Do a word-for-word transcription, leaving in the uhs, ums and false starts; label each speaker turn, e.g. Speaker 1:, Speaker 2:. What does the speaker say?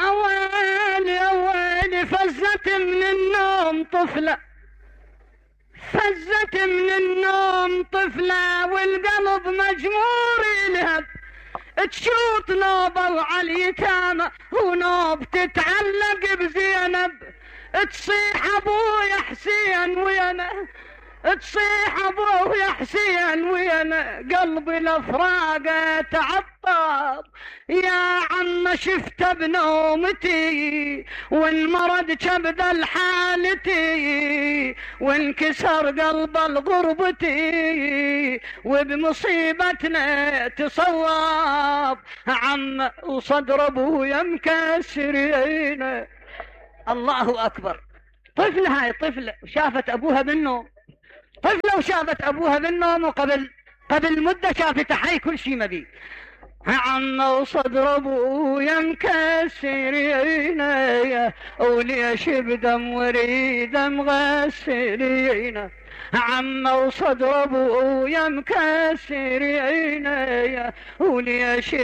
Speaker 1: ويلي ويلي فزت من النوم طفلة، فزت من النوم طفلة والقلب مجمور يلهب، تشوط نوبة وعلى اليتامى ونوب تتعلق بزينب، تصيح ابويا حسين ويانا، تصيح ابويا حسين ويانا، قلبي الافراقه تعطب يا عم شفت بنومتي والمرض كبد الحالتي وانكسر قلب الغربتي وبمصيبتنا تصوب عم وصدر ابويا مكسرين. الله اكبر. طفلة هاي طفلة شافت ابوها بالنوم، طفلة وشافت ابوها بالنوم وقبل قبل مدة شافت حي كل شي مبي. عم وصدر ابويا مكسرين وليش بدم وريد مغسلين، عم وصدر ابويا مكسرين وليش